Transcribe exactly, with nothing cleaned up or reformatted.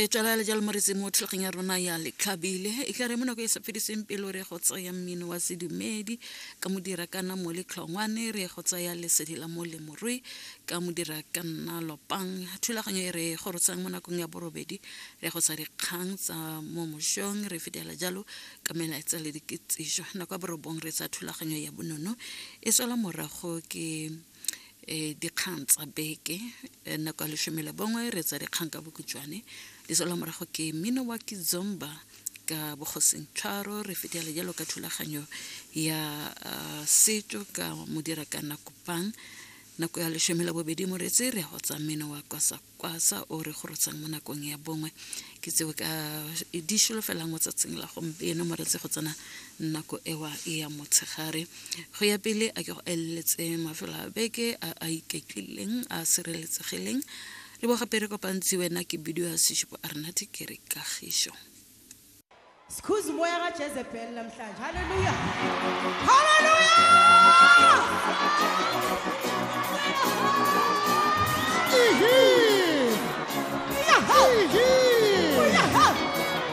Re tswelela jalo moretsi mo thulaganyong ya rona ya Letlhabile. E tla re mo nako e sa fediseng pelo re go tsaya mmino wa sedumedi ka modira kana mo letlhongwane, re go tsaya lesedi la mo lemorui ka modira ka nna lopang. Thulaganyo e re gorotsang mo nakong ya borobedi re go tsa dikgang tsa mo mošong, re fetela jalo ka melaetsa le dikitsiso. Nako ya borobong re tsa thulaganyo ya bonono e tswela morago ke eh, dikgang tsa beke. Eh, nako ya leshome le bongwe re tsa dikgang ka bokhutshwane di tswela morago ke mmino wa kizomba ka bogosing tshwaro, re fetela jalo ka thulaganyo ya uh, setso ka modira ka nakopang. Nako ya leshome la bobedi moretsi re go tsa mmino wa kwasa kwasa o re gorotsang mo nakong ya bongwe. Ke tseo ka di solofelang mo tsatsing la gompieno moretsi go tsena nako ewa ya motshegare. Go ya pele a ke go eleletse mafelo a beke a a iketlileng a sireletsegileng. Re bo gape re kopantsi wena ke bidio ya seshupo a renate ke re kagišo. Sikhuza umoya kaJezebel namhlanje. Hallelujah. Hallelujah.